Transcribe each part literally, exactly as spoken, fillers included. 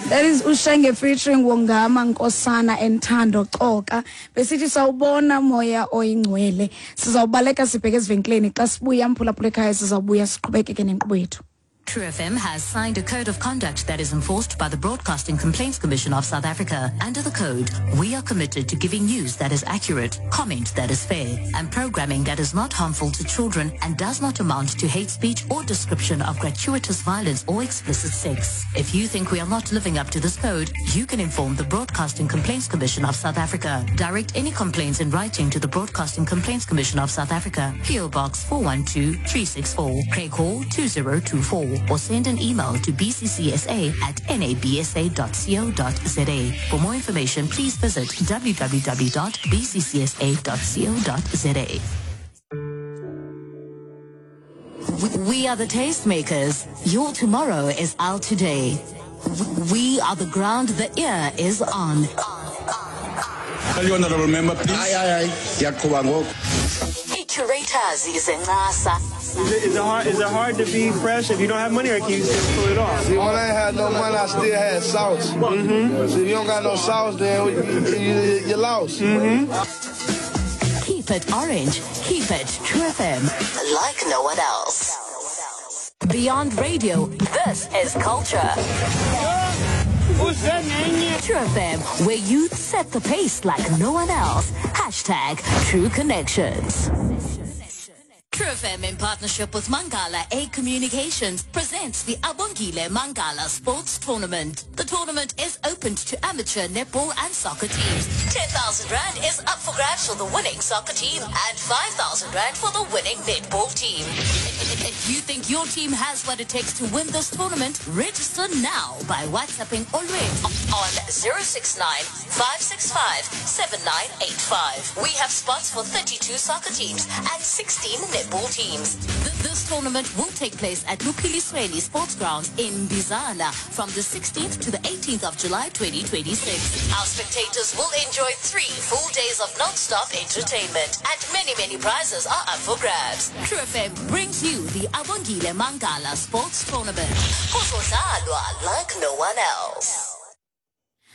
That is Ushenge featuring Wongama Nkosana and Thando Xoka. Besithi sawubona moya oyingcwele. Sizawubaleka sibheke ezivenkileni xa sibuya, mphulaphula ekhaya, sizawubuya siqhubekeke nenkqubo yethu. True F M has signed a code of conduct that is enforced by the Broadcasting Complaints Commission of South Africa. Under the code, we are committed to giving news that is accurate, comment that is fair, and programming that is not harmful to children and does not amount to hate speech or description of gratuitous violence or explicit sex. If you think we are not living up to this code, you can inform the Broadcasting Complaints Commission of South Africa. Direct any complaints in writing to the Broadcasting Complaints Commission of South Africa, P O. Box four one two three six four, Craighall two zero two four, or send an email to B C C S A at nabsa dot co dot za. For more information, please visit w w w dot b c c s a dot co dot za. We are the tastemakers. Your tomorrow is our today. We are the ground the ear is on. Tell you, honorable member, please. Hayi, hayi, hayi, ndiyaqhuba ngoku. Curators izencasa. Is it, is it hard? Is it hard to be fresh if you don't have money, or can you still pull it off? See, when I ain't had no money, I still had sauce. Mm-hmm. See, if you don't got no sauce, then you, you, you lost. Mm-hmm. Keep it orange. Keep it True F M. Like no one else. Beyond radio, this is culture. True F M, where youth set the pace like no one else. Hashtag True Connections. True F M in partnership with Mangala A Communications presents the Abongile Mangala Sports Tournament. The tournament is open to amateur netball and soccer teams. ten thousand Rand is up for grabs for the winning soccer team and five thousand Rand for the winning netball team. If you think your team has what it takes to win this tournament, register now by WhatsApping Olwet on zero six nine, five six five, seven nine eight five. We have spots for thirty-two soccer teams and sixteen netball teams. Th- this tournament will take place at Lupilisweni Sports Grounds in Bizana from the sixteenth to the eighteenth of July twenty twenty-six. Our spectators will enjoy three full days of non-stop entertainment and many, many prizes are up for grabs. True F M brings you the Abongile Mangala Sports Tournament. Kuzodlalwa like no one else.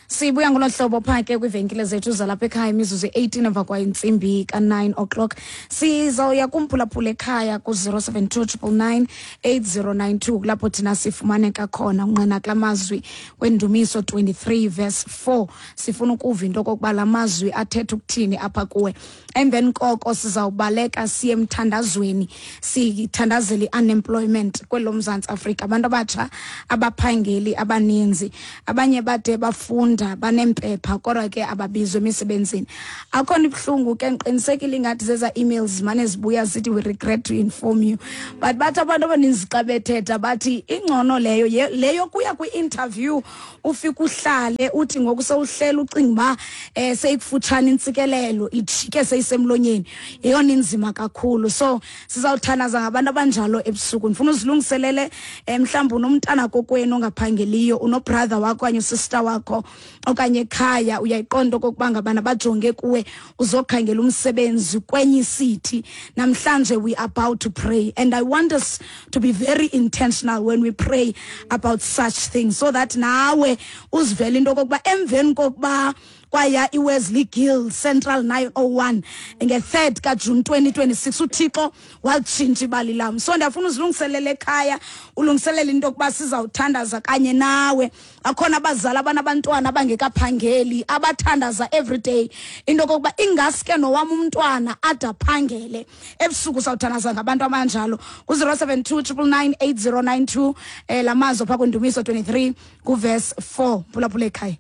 Sibuya ngolo hlobo phaa ke kwiivenkile zethu zalapha ekhaya, imizuzu eighteen emva kwentsimbi ka-nine o'clock. Sizawuya kumphulaphula ekhaya ku-zero seven two, nine nine nine, eight zero nine two, kulapho thina sifumaneka khona. Unqena kula mazwi kwendumiso twenty-three verse four, sifuna ukuva into okokuba la mazwi athetha ukuthini apha kuwe. Emveni koko sizawubaleka siye emthandazweni, sithandazele i-unemployment kwelo Mzantsi Afrika. Abantu abatsha abaphangeli abaninzi, abanye bade bafunda, baneempepha, kodwa ke ababizwa emisebenzini. Akhona ibuhlungu ke, ndiqinisekile ingathi zeza emails zimane zibuya zithi, "We regret to inform you," but bathi abantu abaninzi xa bethetha bathi ingcono leyo ye- leyo kuya kwi-interview, ufike uhlale, uthi ngoku sewuhlela, ucinga uba um seyikufutshane intsikelelo, ijike seyisemlonyeni. Yeyona inzima kakhulu. So sizawuthandaza ngabantu abanjalo ebusuku. Ndifuna uzilungiselele, um mhlawumbi unomntana kokwenu ongaphangeliyo, unobrother wakho okanye usister wakho okanye ekhaya, uyayiqonda okokuba ngabana bajonge kuwe uzokhangela umsebenzi kwenye icity. Namhlanje we are about to pray and I want us to be very intentional when we pray about such things, so that nawe uzivele into okokuba emveni kokuba kwaya iWesley Gill Central nine oh one nge-third kaJune twenty twenty-six, uThixo walitshintsha ibali lam. So ndiyafuna uzilungiselele ekhaya, ulungiselele into yokuba sizawuthandaza kanye nawe. Akhona abazali abanabantwana abangekaphangeli abathandaza every day into yokokuba ingaske nowam umntwana ade aphangele. Ebusuku sawuthandaza ngabantu abanjalo ku-zero seven two, nine nine nine, eight zero nine two. um la mazwi phaa kwindumiso twenty-three kuverse four. Phulaphula ekhaya.